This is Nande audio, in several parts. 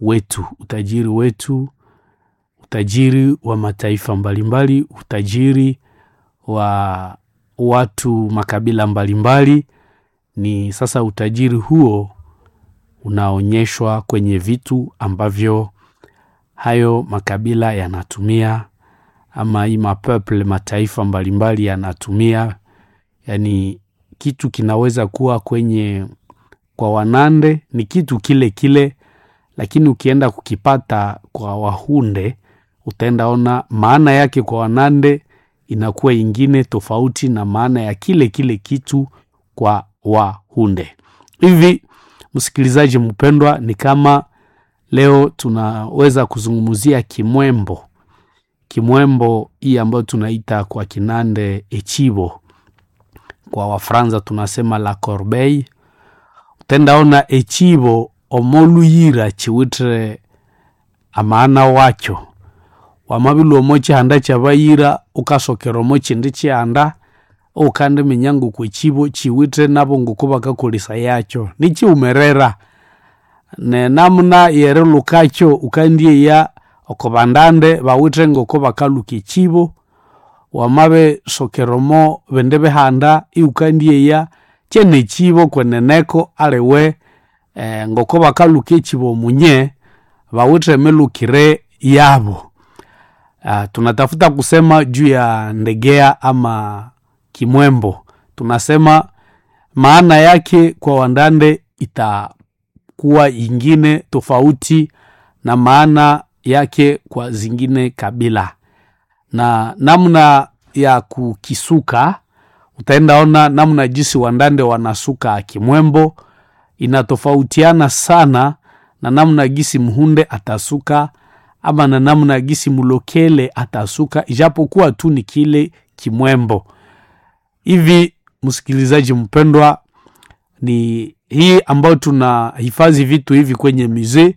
wetu, utajiri wetu, utajiri wa mataifa mbalimbali, utajiri wa watu makabila mbalimbali. Ni sasa utajiri huo unaonyeshwa kwenye vitu ambavyo hayo makabila yanatumia ama hii mapeuple mataifa mbalimbali yanatumia. Yani kitu kinaweza kuwa kwenye kwa Wanande ni kitu kile kile, lakini ukienda kukipata kwa Wahunde utaenda ona maana yake kwa Wanande inakuwa ingine tofauti na maana ya kile kile kitu kwa Wahunde. Hivi msikilizaji mpendwa, ni kama leo tunaweza kuzungumzia Kimwembo. Kimwembo hii ambayo tunaita kwa Kinande echibo, kwa Wafransa tunasema la corbeille. Utendaona echibo omoluyira chiwitire amaana wacho wamabilwa omo chihanda kyabayira ukasokera omo chindi chihanda ukandiminya ngoku echibo chiwithe nabo ngoku bakakolesaya yakyo nichiwumerera nenamuna yerilukakyo ukandyeya oko bandande bawithe ngoko bakaluka echibo wamabisokera omo bindi bihanda iwukandyeya kyene echibo kweneneko aliwe ngoko bakaluka echibo munye bawithe emilukire yabo. Tunatafuta kusema juu ya ndegea ama kimwembo. Tunasema maana yake kwa Wandande itakuwa ingine tofauti na maana yake kwa zingine kabila, na namna ya kukisuka utaenda ona namna jinsi Wandande wanasuka kimwembo inatofautiana sana na namna gisi Mhunde atasuka ama na namna gisi Mulokele atasuka, ijapokuwa tu ni kile kimwembo. Hivi msikilizaji mpendwa, ni hii ambayo tunahifadhi vitu hivi kwenye muzee,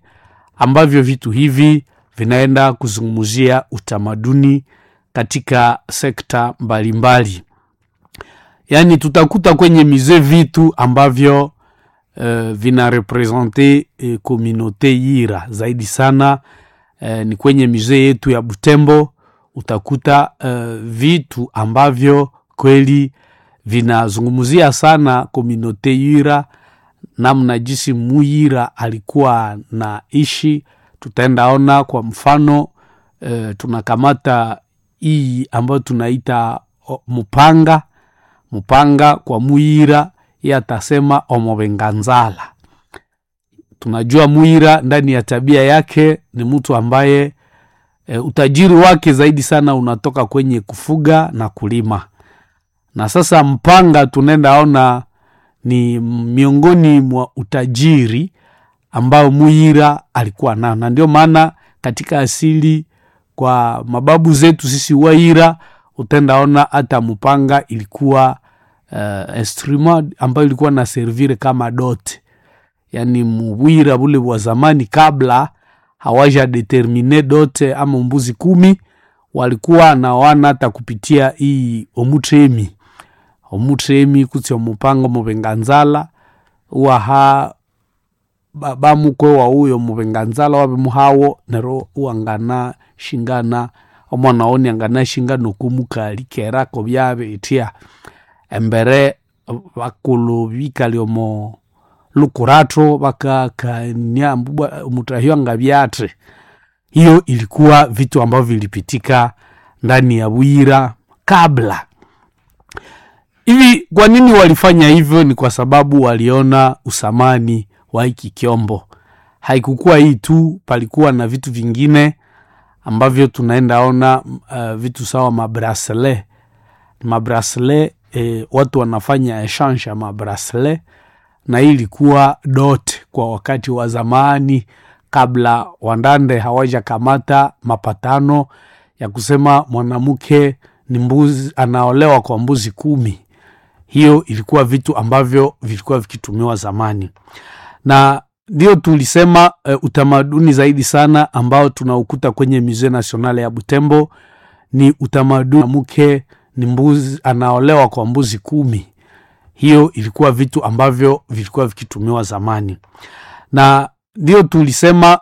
ambavyo vitu hivi vinaenda kuzungumzia utamaduni katika sekta mbalimbali. Yaani tutakuta kwenye muzee vitu ambavyo vina represente communauté Yira zaidi sana. Ni kwenye muzee yetu ya Butembo utakuta vitu ambavyo kweli vinazungumzia sana communauté Yira, namna jinsi Muyira alikuwa na ishi. Tutaenda ona kwa mfano tunakamata hii ambayo tunaita mupanga. Mupanga kwa Muyira yeye atasema omobenganzala. Tunajua Muyira ndani ya tabia yake ni mtu ambaye utajiri wake zaidi sana unatoka kwenye kufuga na kulima. Na sasa mpanga tunaenda ona ni miongoni mwa utajiri ambao Muyira alikuwa nao, na ndio maana katika asili kwa mababu zetu sisi Waira utaenda hata mpanga ilikuwa instrument ambayo ilikuwa na servire kama dot, yaani mubwira bule bwa zamani kabla hawaja determine dote ama mbuzi 10 walikuwa na wana hata kupitia hii omutremi omutremi kutsi omupango mubenganzala waha bamukwe wa uyo mubenganzala wabimuhawo nero uwangana shingana omwana woni angana shinga nokumukali kerako byabe itya embere bakulu bikali omo lukurato bakakania mutahio angabyate. Hiyo ilikuwa vitu ambavyo vilipitika ndani ya Bwira kabla. Hivi kwa nini walifanya hivyo? Ni kwa sababu waliona usamani wa hiki kyombo. Haikukuwa hii tu, palikuwa na vitu vingine ambavyo tunaenda ona vitu sawa mabrasle. Mabrasle watu wanafanya exchange ya mabrasle, na hii ilikuwa dot kwa wakati wa zamani kabla Wandande hawajakamata mapatano ya kusema mwanamke ni mbuzi, anaolewa kwa mbuzi 10. Hiyo ilikuwa vitu ambavyo vilikuwa vikitumiwa zamani, na ndio tulisema utamaduni zaidi sana ambao tunaukuta kwenye Musée Nationale ya Butembo ni utamaduni mke ni mbuzi, anaolewa kwa mbuzi 10. Hiyo ilikuwa vitu ambavyo vilikuwa vikitumiwa zamani, na ndio tulisema